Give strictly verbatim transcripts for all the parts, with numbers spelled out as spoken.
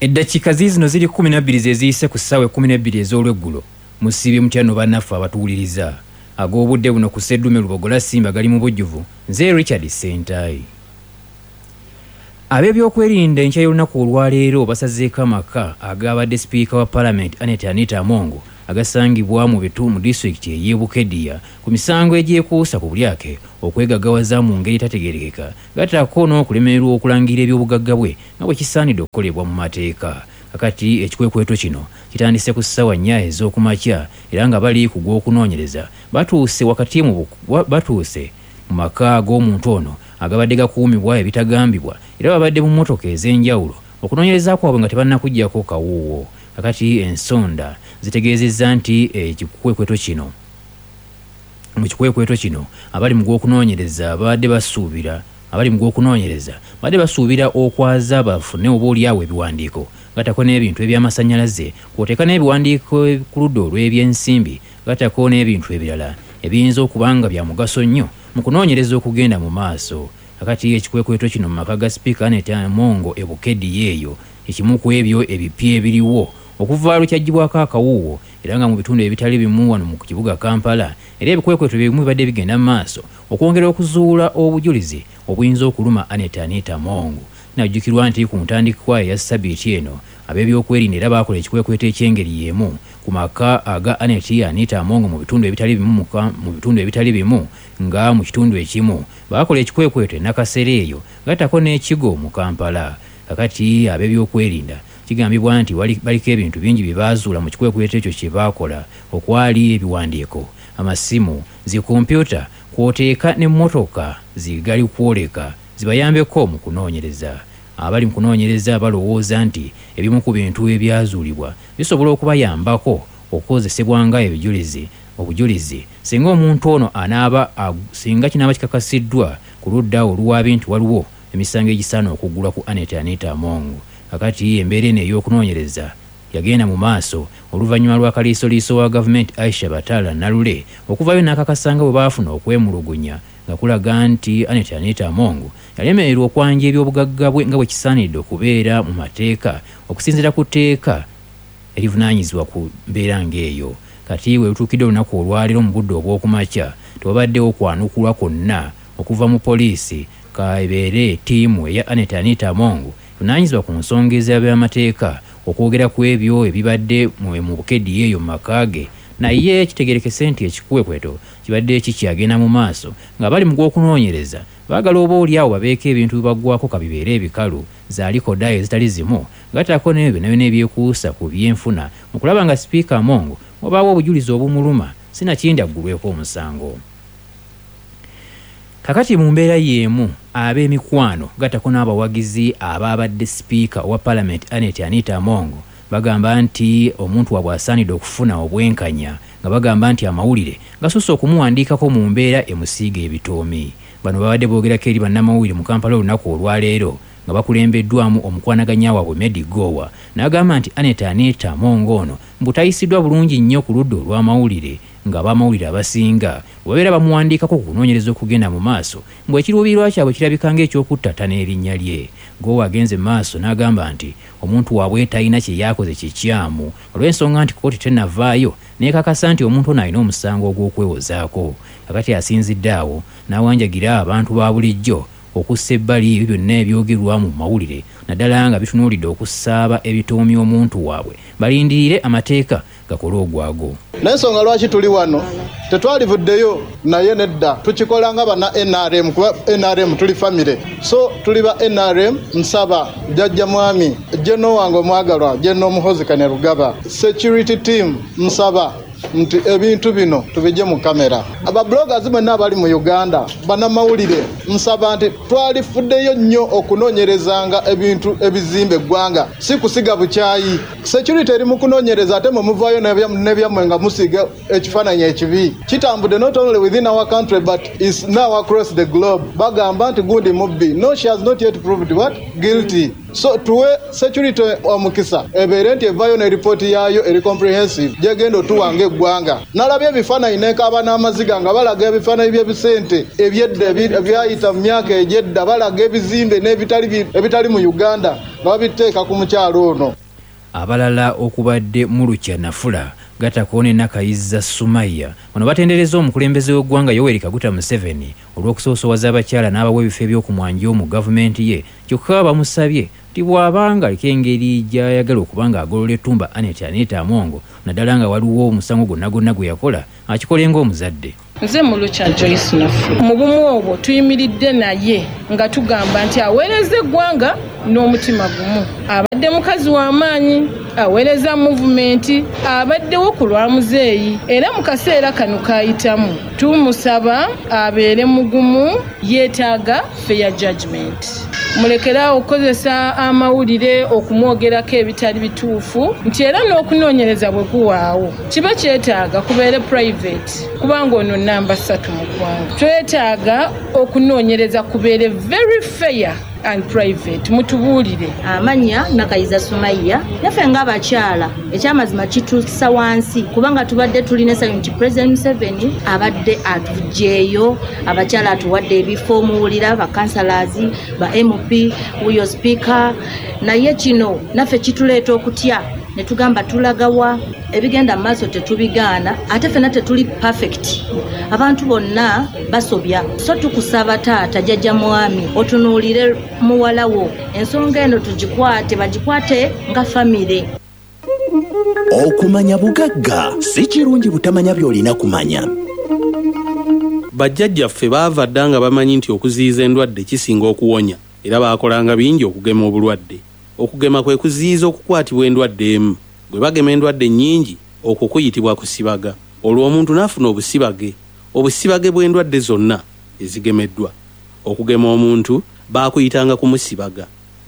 Eddakiika ziizino ziri kkumi na bbiri ze ziyise ku ssaawa ekkumi n'ebbiri ez'olweggulo. Musiibye mutya nno bannaffe abatuwuliriza? Ag'obudde buno ku Sseddume Lubogola Simba gali mu bujjuvu. Nze Richard Ssentayi. Ab'ebyokwerinda enkya y'olunaku olwaleero basazeeko amaka agabadde sipiika wa Palamenti Annet Anita Among agasangibwa mu bitu mu disitulikiti ey'e Bukedea ku misango egyekuusa ku bulyake okwegaggawaza mu ngeri etategeerekeka, gattako n'okulemererwa okulangirira ebyobugagga bwe nga bwe kisaanidde okukolebwa mu mateeka. Kakati ekikwekweto kino kitandise ku ssaawa nnya ez'okumakya era nga bali ku gw'okunoonyereza batuuse wakati mu batuuse mu maka g'omuntu ono agabadde gakuumibwa ebitagambibwa era babadde mu mmotoka ez'enjawulo okunoonyereza kwabwe nga tebannakuggyako kawuuwo. Kakati ensonda zitegeezezza nti ekikwekweto kino mu kikwekweto kino abali mu gw'okunoonyereza babadde basuubira abali mu gw'okunoonyereza babadde basuubira okwaza bafune oba oliawo ebiwandiiko gattako n'ebintu eby'amasannyalaze kw'oteeka n'ebiwandiiko ku ludda olw'ebyensimbi gattako n'ebintu ebirala ebiyinza okuba nga bya mugaso nnyo mu kunoonyereza okugenda mu maaso. Kakati ekikwekweto kino mu maka ga sipiika Annet Among e Bukedea eyo ekimu ku ebyo ebipya ebiriwo okuva lwe kyaggyibwako akawuuwo era nga mu bitundu ebitali bimu wano mu kibuga Kampala era ebikwekweto bimu bibadde bigenda mu maaso okwongera okuzuula obujulizi obuyinza okuluma Annet Anita Among. Kinajjukirwa nti ku ntandikwa eya ssabbiiti eno ab'ebyokwerinda era baakola ekikwekweto eky'engeri y'emu ku maka aga Annet Anita Among mu bitundu ebitali bimu mu bitundu ebitali bimu nga mu kitundu ekimu baakola ekikwekweto e Nakasero eyo gattako n'ekigo mu Kampala. Kakati ab'ebyokwerinda kigambibwa nti baliko ebintu bingi bye baazuula mu kikwekweto ekyo kye baakola okwali ebiwandiiko, amasimu, zikompyuta kw'oteeka n'emmotoka zigali kwoleka zibayambeko mu kunoonyereza. Abali mu kunoonyereza balowooza nti ebimu ku bintu ebyazuulibwa bisobola okubayambako okukozesebwa nga ebijulizi obujulizi singa omuntu ono anaaba singa kinaaba kikakasiddwa ku ludda oluwaabi nti waliwo emisango egisaana okuggulwa ku Annet Anita Among. Kakati embeera eno ey'okunoonyereza yagenda mu maaso oluvannyuma lwa kaliisoliiso wa gavumenti Aisha Batala Nalule okuvaayo n'akakasa nga bwe baafuna okwemulugunya nga kulaga nti Annet Anita Among yalemererwa okwanja ebyobugagga bwe nga bwe kisaanidde okubeera mu mateeka okusinziira ku tteeka erivunaanyizibwa ku mbeera ng'eyo. Kati we lutuukidde olunaku olwaleero mu budde obw'okumakya tewabaddewo kwanukulwa kwonna okuva mu poliisi kabeere ttiimu eya Annet Anita Among evunaanyizibwa ku nsonga ez'ebyamateeka okwogera ku ebyo ebibadde mu Bukedea eyo mu maka ge. Naye kitegeerekese nti ekikwekweto kibadde kikyagenda mu maaso nga bali mu gw'okunoonyereza baagala oba oliawo babeeko ebintu bibaggwako kabibeere ebikalu zaalikoda ezitali zimu gattako n'ebyo byonna byonna ebyekuusa ku byenfuna mu kulaba nga sipiika Among wabaawo obujulizi obumuluma sinakindi aggulweko omusango. Kakati mu mbeera y'emu ab'emikwano gattako n'abawagizi abaabadde sipiika owa Palamenti Annet Anita Among bagamba nti omuntu waabwe asaanidde okufuna obwenkanya nga bagamba nti amawulire gasusse okumuwandiikako mu mbeera emusiiga ebitoomi. Bano babadde boogerako eri bannamawulire mu Kampala olunaku olwaleero nga bakulembeddwamu omukwanaganya waabwe Medi Gowa n'agamba nti Annet Anita Among ono mbu tayisiddwa bulungi nnyo ku ludda olw'amawulire nga ab'amawulire abasinga bwe babeera bamuwandiikako ku kunoonyereza okugenda mu maaso mbu ekiruubirirwa kyabwe kirabika ng'ekyokuttata n'erinnya lye. Gowa agenze mu maaso n'agamba nti omuntu waabwe talina kye yakoze kikyamu olw'ensonga nti kkooti tennavaayo n'ekakasa nti omuntu ono alina omusango ogw'okwewozaako. Kakati asinzidde awo n'awanjagira abantu ba bulijjo okussa ebbali ebyo byonna ebyogerwa mu mawulire naddala nga bitunuulidde okusaaba ebitoomi omuntu waabwe balindirire amateeka gakole ogwago. N'ensonga lwaki tuli wano tetwalivuddeyo naye nedda tukikola nga banna N R M kuba N R M tuli famire, so tuli ba N R M. Nsaba jjajja mwami Jeno wange omwagalwa Jeno Muhoozi Kainerugaba, security team, nsaba nti ebintu bino tubijje mu kamera. Ababloggers bonna abali mu Uganda bannamawulire, nsaba nti twalifuddeyo nnyo okunoonyerezanga ebintu ebizimba eggwanga, si kusiga bukyayi. Security eri mu kunoonyereza ate mwe muvaayo n'ebyammwe nga musiiga ekifaananyi ekibi. Kitambudde not only within our country but is now across the globe. Bagamba nti gundi mubbi. No, she has not yet proved what? Guilty. So tuwe security omukisa ebeere nti evaayo ne ripooti yaayo eri comprehensive gyegenda otuwanga. ng'eggwanga. Nalabye ebifaananyi nenkaaba n'amaziga nga balaga ebifaananyi by'ebisente ebyedda ebyayita mu myaka egy'edda, balaga ebizimbe n'ebitali ebitali mu Uganda nga babiteeka ku mukyalo ono. Abalala okubadde Mulukya Nafula gatako ne Nakayiza Sumaya bano batendereza omukulembeze w'eggwanga Yoweri Kaguta Museveni olw'okusoosowaza abakyala n'abawa ebifo eby'okumwanjo mu gavumenti ye, kyokka bamusabye nti bw'abanga aliko engeri gy'ayagala okuba ng'agolola ettumba Annet Anita Among, naddala nga waliwo omusango gwonna gwonna gwe yakola akikole ng'omuzadde. Nze Mulukya Joyce Nafula, mu bumu obwo tuyimiridde naye nga tugamba nti aweereza eggwanga n'omutima gumu. Abadde mukazi w'amaanyi, aweereza muvumenti, abaddewo ku lwa muzeeyi, era mu kaseera kano kayitamu tumusaba abeere mugumu, yeetaaga fair judgment. Mulekeraawo okukozesa amawulire okumwogerako ebitali bituufu, nti era n'okunoonyereza bwe kuwaawo kiba kyetaaga kubeere private, kubanga ono namba ssatu mu ggwanga. Twetaaga okunoonyereza kubeere very fair and private, mutubuulire. Amannya Nakayiza Sumaya, naffe ng'abakyala ekyamazima kituusa wansi, kubanga tubadde tulina essanyu nti President Museveni abadde atuggyeeyo, abakyala atuwadde ebifo, muwulira ba councillors, ba M P, wuyo speaker, naye kino naffe kituleeta okutya ne tugamba tulagawa ebigenda mu maaso tetubigaana, ate ffenna tetuli perfect, abantu bonna basobya. So tukusaba taata jjajja mwami otunuulire muwala wo, ensonga eno tugikwate, bagikwate nga famire. Okumanya bugagga si kirungi butamanya by'olina kumanya. Bajjajjaffe baava dda nga bamanyi nti okuziyiza endwadde kisinga okuwonya, era baakolanga bingi okugema obulwadde. Okugema kwe kuziyiza okukwatibwa endwadde emu. Bwe bagema endwadde nnyingi, okwo kuyitibwa kusibaga. Olwo omuntu n'afuna obusibage, obusibage bw'endwadde zonna ezigemeddwa. Okugema omuntu baakuyitanga kumusibaga.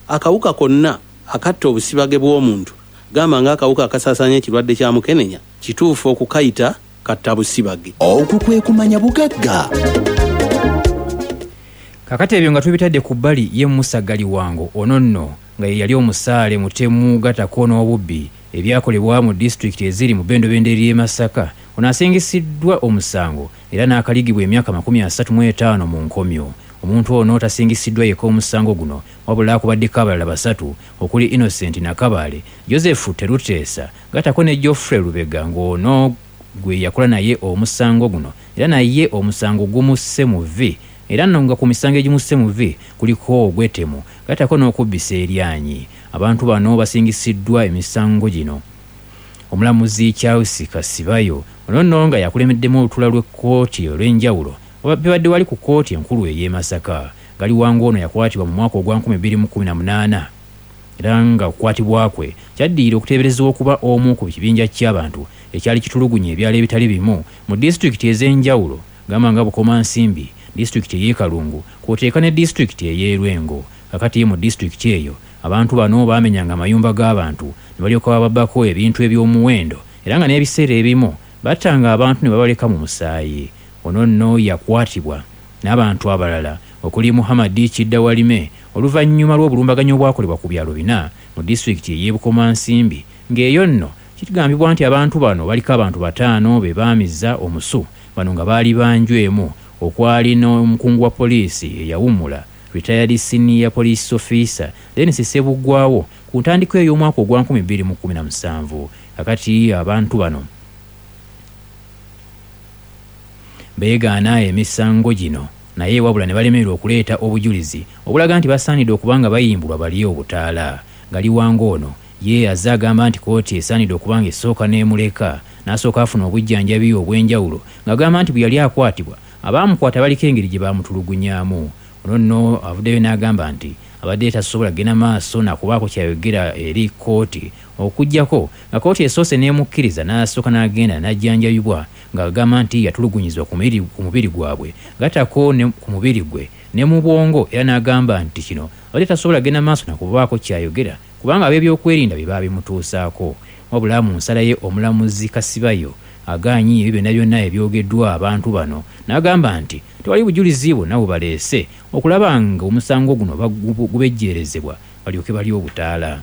Akawuka konna akatta obusibage bw'omuntu, gamba ng'akawuka akasaasaanya ekirwadde kya mukenenya, kituufu okukayita katta busibage. Okwo kwe kumanya bugagga. Kakati ebyo nga tubitadde ku bbali, ye Musa Galiwango ono nno nga ye yali omusaale mutemu gatako n'obubbi ebyakolebwa mu disitulikiti eziri mu bendobendo ery'e Masaka, ono asingisiddwa omusango era n'akaligibwa emyaka makumi asatu mu etaano mu nkomyo. Omuntu ono tasingisiddwa yekka omusango guno, wabula akubaddeko abalala basatu okuli Innocent Nakabaale, Joseph Teruteesa gatako ne Geoffrey Lubega ng'ono gwe yakola naye omusango guno, era naye omusango gumusse mu vvi, era nno nga ku misango egimusse mu vvi kuliko ogw'ettemu gatako n'okubbisa eryanyi. Abantu bano basingisiddwa emisango gino. Omulamuzi Charles Kasibayo ono nno nga yakulembeddemu olutuula lw'ekkooti olw'enjawulo bibadde wali ku kkooti enkulu ey'e Masaka. Galiwango ono yakwatibwa mu mwaka ogwa nkumi bbiri mu kkumi na munaana, era nga okukwatibwa kwe kyaddirira okuteeberezebwa okuba omu ku kibinja ky'abantu ekyali kitulugunya ebyalo ebitali bimu mu disitulikiti ez'enjawulo, gamba nga Bukomansimbi, disitulikiti ey'e Kalungu kw'oteeka ne disitulikiti ey'e Lwengo. Kakati mu disitulikiti eyo abantu bano baamenyanga amayumba g'abantu ne balyoka bababbako ebintu eby'omuwendo, era nga n'ebiseera ebimu battanga abantu ne babaleka mu musaayi. Ono nno yakwatibwa n'abantu abalala okuli Muhammad Kiddawalime oluvannyuma lw'obulumbaganyi obwakolebwa ku byalo bina mu disitulikiti ey'e Bukomansimbi, ng'eyo nno kigambibwa nti abantu bano baliko abantu bataano be baamiza omusu, bano nga baali banju emu okwali n'omukungu wa poliisi eyawummula retired senior police officer Dennis Ssebuggwawo ku ntandikwa ey'omwaka ogwa nkumi bbiri mu kkumi na musanvu. Kakati abantu bano beegaana emisango gino, naye wabula ne balemererwa okuleeta obujulizi obulaga nti basaanidde okuba nga bayimbulwa bali obutaala. Galiwango ono ye azze agamba nti kkooti esaanidde okuba nga esooka n'emuleka n'asooka afuna obujjanjabi obw'enjawulo, ng'agamba nti bwe yali akwatibwa abaamukwata baliko engeri gye baamutulugunyaamu. Ono nno avuddeyo n'agamba nti abadde tasobola kugenda maaso nakubaako kyayogera eri kkooti okuggyako nga kkooti esoose n'emukkiriza n'asooka n'agenda n'ajjanjabibwa, ng'agamba nti yatulugunyizibwa ku mubiri gwabwe gatako ku mubiri gwe ne mu bwongo, era n'agamba nti kino abadde tasobola kugenda maaso nakubaako kyayogera kubanga ab'ebyokwerinda bye baabimutuusaako. Wabula mu nsala ye omulamuzi Kasibayo agaanyi ebyo byonna byonna ebyogeddwa abantu bano n'agamba nti tewali bujulizi bwonna bubaleese okulaba nga omusango guno gubejjeerezebwa balyoke balye obutaala.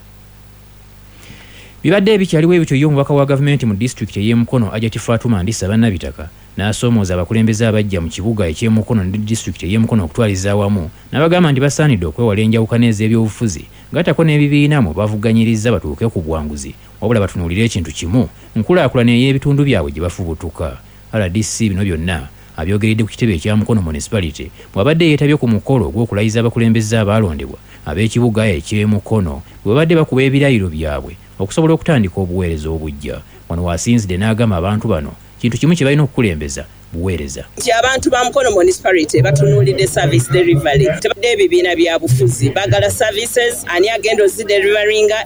Bibadde ebikyaliwo ebityo, ye omubaka wa gavumenti mu disitulikiti ey'e Mukono, Hajati Fatuma Ndisa Bannabitaka, n'asoomooza abakulembeze abajja mu kibuga eky'e Mukono ne disitulikiti ey'e Mukono okutwaliza awamu, n'abagamba nti basaanidde okwewala enjawukana ez'ebyobufuzi gattako n'ebibiina mwe bavuganyiriza batuuke ku buwanguzi, wabula batunuulire ekintu kimu, nkulaakulana ey'ebitundu byabwe gye bafubutuka. R D C bino byonna abyogeredde ku kitebe ekya Mukono Municipality bw'abadde yeetabye ku mukolo ogw'okulayiza abakulembeze abaalondebwa ab'ekibuga eky'e Mukono, bwe babadde bakuba ebirayiro byabwe okusobola okutandika obuweereza obujja. Wano waasinzidde n'agamba abantu bano kintu kimu kye balina okukulembeza, buweereza. Nti abantu ba Mukono Municipality batunuulidde service delivery, tebadde ebibiina bya bufuzi, baagala services. Ani agenda ozideliveringa?